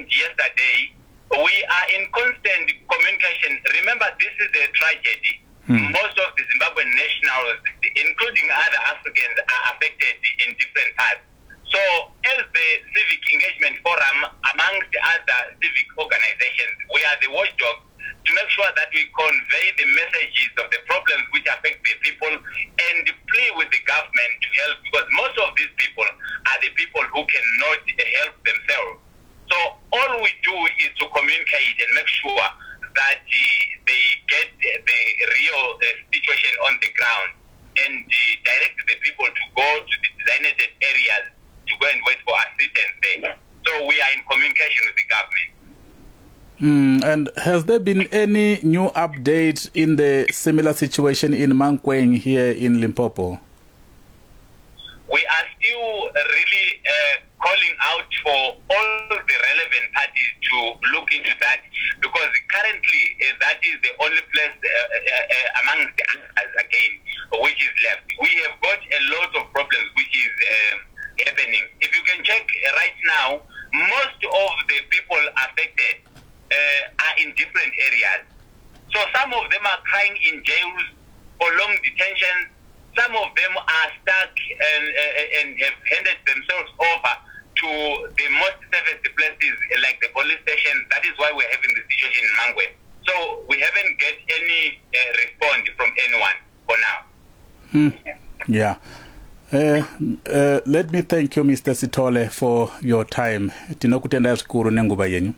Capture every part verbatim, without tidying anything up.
happened yesterday. We are in constant communication. Remember, this is a tragedy. Hmm. Most of the Zimbabwean nationals, including other Africans, are affected in different parts. So, as the Civic Engagement Forum, amongst other civic organizations, we are the watchdogs to make sure that we convey the messages of the problems which affect the people and plea with the government to help, because most of these people are the people who cannot help themselves. So all we do is to communicate and make sure that uh, they get the real uh, situation on the ground and uh, direct the people to go to the designated areas to go and wait for assistance there. So we are in communication with the government. Mm, and has there been any new update in the similar situation in Mankweng here in Limpopo? We are still really uh, calling out for all the relevant parties to look into that, because currently uh, that is the only place uh, uh, uh, amongst the others again which is left. We have got a lot of problems which is uh, happening. If you can check right now, most of the people affected uh, are in different areas. So some of them are crying in jails for long detentions. Some of them are stuck and, uh, and have handed themselves over to the most safest places like the police station. That is why we're having the situation in Mankweng. So we haven't get any uh, response from anyone for now. Hmm. Yeah. Uh, uh, let me thank you, Mister Sithole, for your time. Tinokutenda zvikuru nenguva yenyu.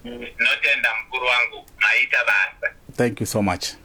Tinotenda mukuru wangu, maita basa. Thank you so much.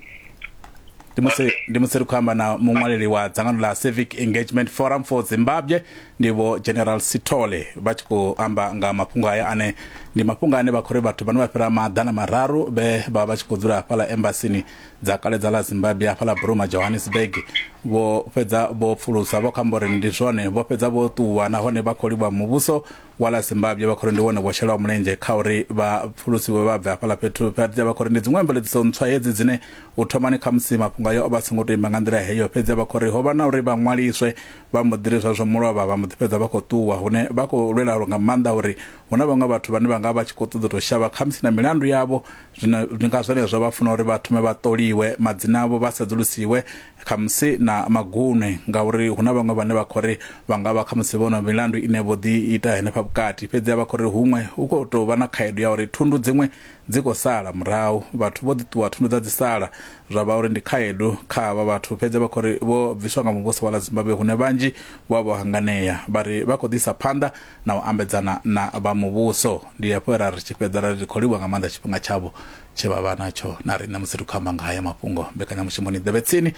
Ndi musi ri khou amba na muṅwaleli wa dzangano ḽa Civic Engagement Forum for Zimbabwe, ndi vho General Sithole, vha tshi khou amba nga mafhungo aya ane ndi mafhungo ane vha khou ri vhathu vhane vha fhira maḓana mararu vhe vha vha tshi khou dzula hafhaḽa embasini dza kale dza ḽa Zimbabwe hafhaḽa Bruma, Johannesburg, vho fhedza vho pfulusa vho khou amba uri ndi zwone, vho fhedza vho ṱuwa nahone vha khou livha muvhuso wa ḽa Zimbabwe, vha khou ri ndi wone wo shelaho mulenzhe kha uri vha pfulusiwe vha bve hafhaḽa fhethu. Fhedzi vha khou ri ndi dziṅwe mveledziso ntswa hedzi dzine u thomani khamusi mafhungo ayo o vha songo tou ima nga nḓila heyo, fhedzi vha khou ri ho vha na uri vha ṅwaliswe vha mbo ḓi ri zwa zwo mulovha vha mbo ḓi fhedza vha khou ṱuwa, hune vha khou lwela nga maanḓa uri hu na vhaṅwe vhathu vhane vha nga vha tshi khou ṱoḓa u tou shavha khamusi na milandu yavho. Zwino ndi nga zwenezwo vha funa uri vha thome vha ṱoliwe madzina avho, vha sedzulusiwe khamusi na magunwe, ngauri hu na vhaṅwe vhane vha khou ri vha nga vha khamusi vho na milandu ine vho ḓi ita henefha vhukati. Fhedzi vha khou ri huṅwe hu khou tou vha na khaedu ya uri thundu dziṅwe dzi khou sala murahu, vhathu vho ḓi ṱuwa thundu dza dzi sala, zwa vha uri ndi khaedu kha havha vhathu. Fhedzi vha khou ri vho bviswa nga muvhuso wa ḽa Zimbabwe, hune vhanzhi vha vho hanganea, vha ri vha khou ḓisa phanḓa na u ambedzana na vha muvhuso. Ndi hafho ra ri tshi fhedza ra ri khou livhuwa nga maanḓa tshifhinga tshavho tshe vha vha natsho na riṋe musi ri khou amba nga haya mafhungo. Mbekanyamushumo ni ḓevhe tsini,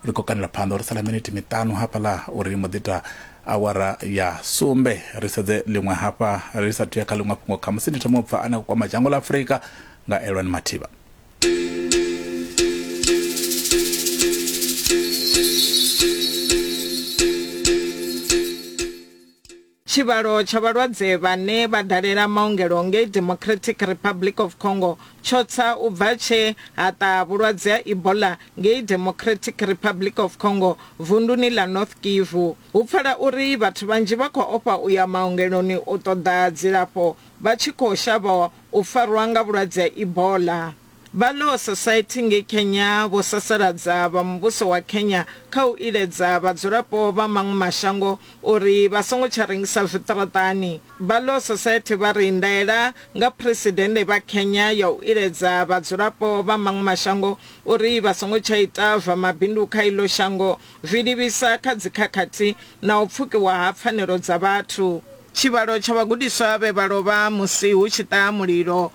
ri khou kanela phanḓa uri sala miniti miṱanu hafhaḽa uri mbo ḓi ita awara ya sumbe. Ri sedze ḽiṅwe hafha ri sathu ya kha ḽiṅwe fhungo, khamusi ndi thoma u pfa ane a kwama dzhango ḽa Afrika nga Elwan Mathiba. Tshivhalo tsha vhalwadze vhane vha dalela maongelo ngei Democratic Republic of Congo tsho tsa u bva tshe ha ṱaha vhulwadze ha Ebola ngei Democratic Republic of Congo vunduni ḽa North Kivu. Hu pfala uri vhathu vhanzhi vha khou ofha u ya maongeloni u ṱoḓa dzilafho vha tshi khou shavha u farwa nga vhulwadze ha Ebola. Vha Law Society ngei Kenya vho sasaladza vha muvhuso wa Kenya kha u iledza vhadzulapo vha maṅwe mashango uri vha songo tsha rengisa zwiṱaraṱani. Vha Law Society vha ri ndaela nga phresidennde vha Kenya ya u iledza vhadzulapo vha maṅwe mashango uri vha songo tsha ita zwa mabindu kha iḽo shango zwi livhisa kha dzikhakhathi na u pfukiwa ha pfanelo dza vhathu. Tshivhalo tsha vhagudiswa vhe vha lovha musi hu tshi ṱaha mulilo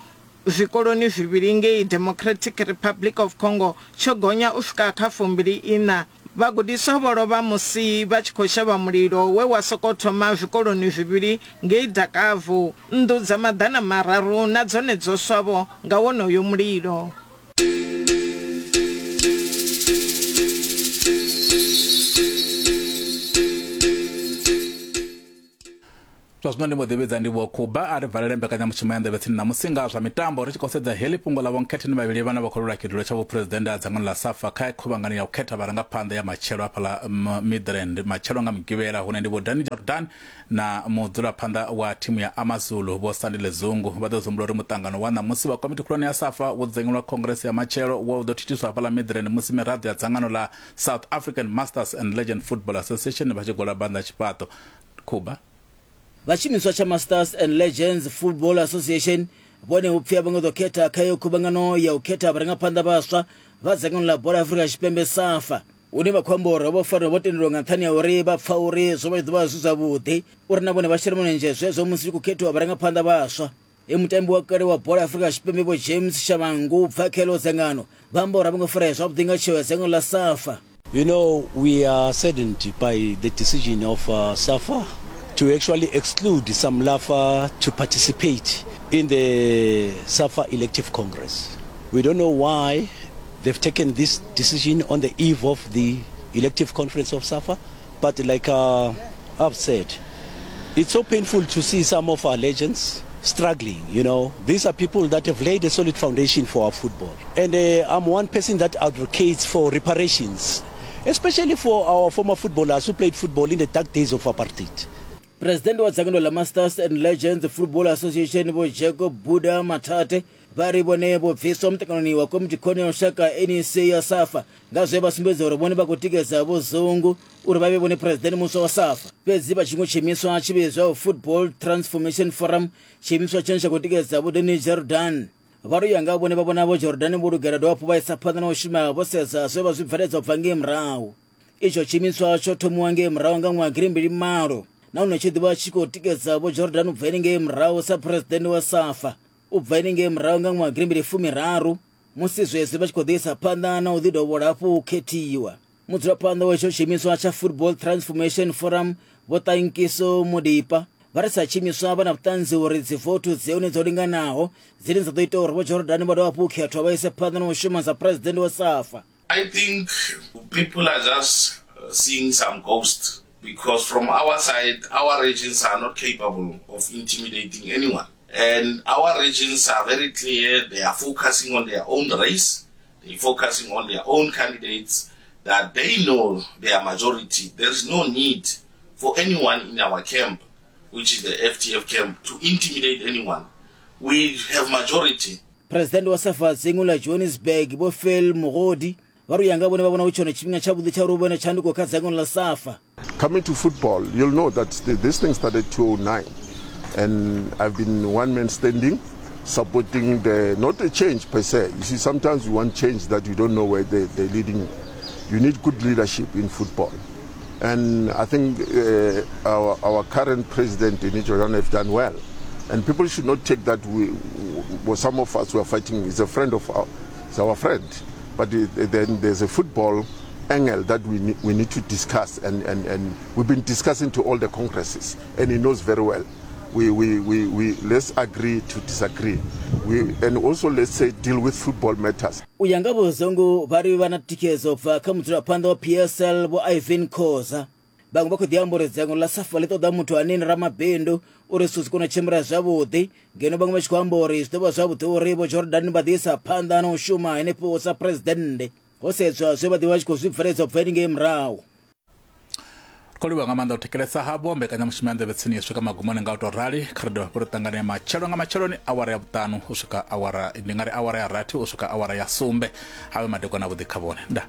zwikoloni zwivhili ngei Democratic Republic of Congo tsho gonya u swika kha fumbili ina. Vhagudiswa vho lovha musi vha tshi khou shavha mulilo we wa sokou thoma zwikoloni zwivhili ngei Dakavu. Nnḓu dza maḓana mararu na dzone dzo swavho nga wonoyo mulilo. Zwa zwino ndi mbo ḓivhidza ndi Vho Khuba a ri valele mbekanyamushumo ya nḓevhe tsini na musi nga zwa mitambo ri tshi khou sedza heḽi fhungo ḽa vhonkhetheni vhavhili vhane vha khou lwela tshidulo tsha vhuphuresidennde ha dzangano ḽa SAFA kha khuvhangano ya u khetha vharangaphanḓa ya matshelo hafhaḽa Midrand matshelo nga Mugivhela, hune ndi Vho Danny Jordan na mudzulaphanḓa wa thimu ya AmaZulu Vho Sandile Zungu. Vha ḓo zumbula uri muṱangano wa ṋamusi wa komiti khulwane ya SAFA wo dzudzanyelwa khongrese ya matshelo wo ḓo thithiswa hafhaḽa Midrand musi miraḓo ya dzangano ḽa South African Masters and Legend Football Association vha tshi gola banda tshifhaṱo. Khuba. Vha tshiimiswa tsha Masters and Legends Football Association vhone hu pfi a vho ngo ḓo khetha kha iyo khuvhangano ya u khetha vharangaphanḓa vhaswa vha dzangano ḽa bola ya Afrika Tshipembe SAFA, hune vha khou amba uri vho fanela vho tendelwa nga nṱhani ha uri vha pfa uri zwo vha zwi ḓo vha zwi zwavhuḓi uri na vhone vha shele mulenzhe zwezwo musi hu khou khethiwa vharangaphanḓa vhaswa. E mutambi wa kale wa bola ya Afrika Tshipembe Vho James Shabangu bva kha heḽo dzangano vha amba uri a vho ngo farea zwavhuḓi nga tsheo ya dzangano ḽa SAFA. You know, we are saddened by the decision of uh, SAFA to actually exclude some LAFA to participate in the SAFA elective congress. We don't know why they've taken this decision on the eve of the elective conference of SAFA, but like uh, I've said, it's so painful to see some of our legends struggling, you know. These are people that have laid a solid foundation for our football. And uh, I'm one person that advocates for reparations, especially for our former footballers who played football in the dark days of apartheid. President wa dzangano ḽa Masters and Legends Football Association Vho Jacob Buda Mathate vha ri vhone vho bviswa muṱanganoni wa komiti khulwane ya lushaka N E C ya SAFA nga zwe vha sumbedza uri vhone vha khou tikedza Vho Zungu uri vha vhe vhone president muswa wa SAFA. Fhedzi vha tshiṅwe tshiimiswa tshi vhidzwaho Football Transformation Forum, tshiimiswa tshine tsha khou tikedza Vho Danny Jordan, vha ri u ya nga vhone vha vhona Vho Jordan vho lugela dovha hafhu vha isa phanḓa na u shuma vho sedza zwe vha zwi bveledza u bva ngei murahu. Itsho tshiimiswa tsho thomiwa ngei murahu nga ṅwaha gidimbili malo nahone tshi ḓivha tshi khou tikedza Vho Jordan u bva henengei murahu sa president wa SAFA u bva henengei murahu nga ṅwaha gidimbili fumiraru musi zwezwi vha tshi khou ḓi isa phanḓa na u ḓi dovhola hafhu u khethiwa. Mudzulaphanḓa wa itsho tshiimiswa tsha Football Transformation Forum Vho Tankiso Modipa vha ri sa tshiimiswa vha na vhuṱanzi uri dzivothu dzi hone dzo linganaho dzine dza ḓo ita uri Vho Jordan vha dovha hafhu u khethwa vha ise phanḓa na u shuma sa president wa SAFA. I think people are just seeing some ghosts, because from our side, our regions are not capable of intimidating anyone. And our regions are very clear. They are focusing on their own race. They're focusing on their own candidates that they know their majority. There is no need for anyone in our camp, which is the F T F camp, to intimidate anyone. We have majority. President wa SAFA dzingu ḽa Johannesburg Vho Phil Mogodi vha ri u ya nga vhone vha vhona hu tshone tshifhinga tshavhuḓi tsha uri hu vhe na tshanduko kha dzangano ḽa SAFA. Coming to football, you'll know that this thing started two thousand nine, and I've been one man standing, supporting the, not a change per se. You see, sometimes you want change that you don't know where they, they're leading. You need good leadership in football. And I think uh, our, our current president, Danny Jordan, have done well. And people should not take that we, we, some of us who are fighting is a friend of our, is our friend. But then there's a football angle that we need, we need to discuss, and, and, and we've been discussing to all the congresses, and he knows very well. We, we, we, we let's agree to disagree. We, and also let's say deal with football matters. U ya nga Vho Zungu vha ri vha na thikhedzo bva kha mudzulaphanḓa wa P S L Vho Ivan Khoza. Vhaṅwe vha khou ḓi amba uri dzangano ḽa SAFA ḽi ṱoḓa muthu ane ndi ramabindu uri zwithu zwi kone u tshimbila zwavhuḓi, ngeno vhaṅwe vha tshi khou amba uri zwi ḓo vha zwavhuḓi uri Vho Jordan vha ḓi isa phanḓa na u shuma henefho sa presidennde ho sedzwa zwe vha ḓi vha tshi khou zwi bveledza u bva henengei murahu. Khou livhuwa nga maanḓa u thetshelesa havho mbekanyamushumo ya nḓevhe tsini yo swika magumoni nga u tou rali. Kha ri dovhe hafhu ri ṱangane matshelo nga matsheloni awara ya vhuṱanu u swika awara ndi nga ri awara ya rathi u swika awara ya sumbe. Havhe madekwana avhuḓi kha vhone. Ndaa.